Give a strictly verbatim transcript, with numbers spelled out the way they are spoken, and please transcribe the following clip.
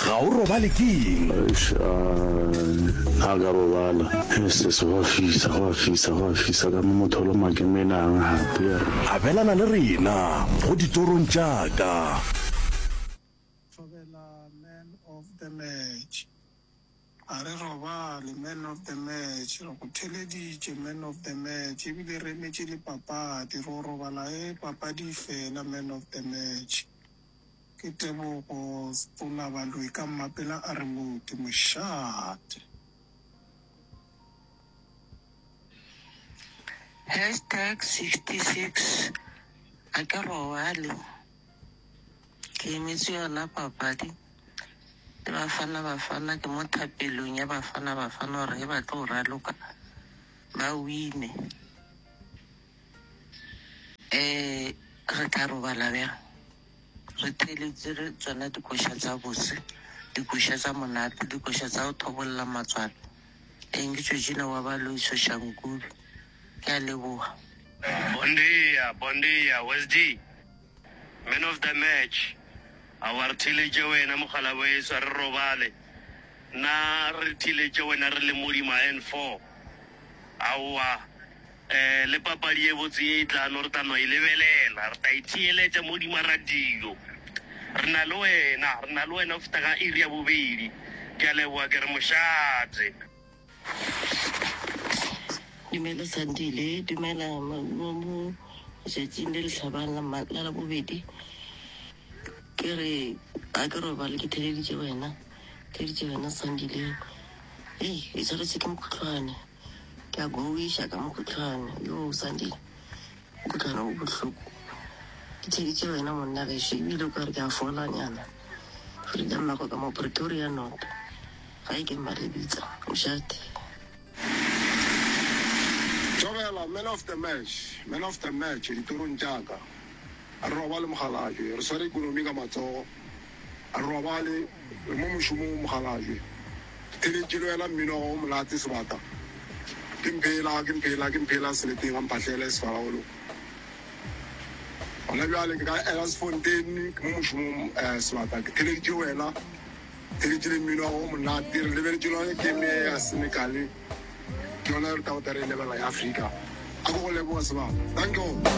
Ga o robale ke eng? Eish, a ka robala. Sis, go a fisa, go a fisa, go a fisa ka mo motho o loma ke menang gape. Abelana le rena go ditorong tša ka. Thobela man of the match. A re robale man of the match. Re go theleditše man of the match. Ebile re emetše le papadi. Re o robala e papadi e fela man of the match. Ke Tebogo Stola Baloyi ka Mmapela a re mote mošate. Hashtag sixty six A ke robale ke emetše yona papadi le Bafana Bafana ke mo thapelong ya Bafana Bafana gore ge ba tlo raloka ba wine um re tla robala bjang Re theeleditše tšona dikoša tša bose, dikoša tša monate, dikoša tša go thobolla matswalo. Eng ke Georgina wa Baloyi Soshanguve. Ke a leboga. Bon dia, bon dia, Wesdy, man of the match. Aowa re theeletše wena mokgalabweso, a re robale. Nna re theeletše wena re le Modima N four. Aowa Eh, le papadi ye botse ye e tlano, re tla no e lebelela. Re tla e theeletša mo godimo ga radio. Re na le wena, re na le wena go fihla ka iri ya bobedi. Ke a leboga, ke re mošate. Dumela Sandile, dumela mo mo letšatšing le le hlabang la ma la Labobedi. Ke re a ke robale ke theeleditše wena, theeleditše wena Sandile. Hei, ke swaretše ke mokhuhlwane. Ke a gowiša ka mokhuhlwane. Yoo, Sandy, mokhuhlwane o bohloko. Ke theeditše wena monna gešo, ebile o ka re ke a folanyana. Frida Mmako ka mo Pretoria North. Gae ke Mmalebitsa. Mošate. Thobela, Man of the match, man of the match ditorong tša ka. A re robale mokgalabje, re sware ekonomi ka matsogo. A re robale, re mo mošomong mokgalabje. Ke theletše le wena mmino wa gago o monate sebata. Ke mphela, ke mphela, ke mphela seleteng ga mphahlele sefaraolo. Gona bjale ke ka Elandsfontein, ke mo mošomong sebata. Ke theleditše wena, theletše le mmino wa gago o monate. Re lebeletše le yona game ye ya Senegal, ke yona re tla go tla re e lebelela ya Afrika. A ke go leboge sebata. Danko.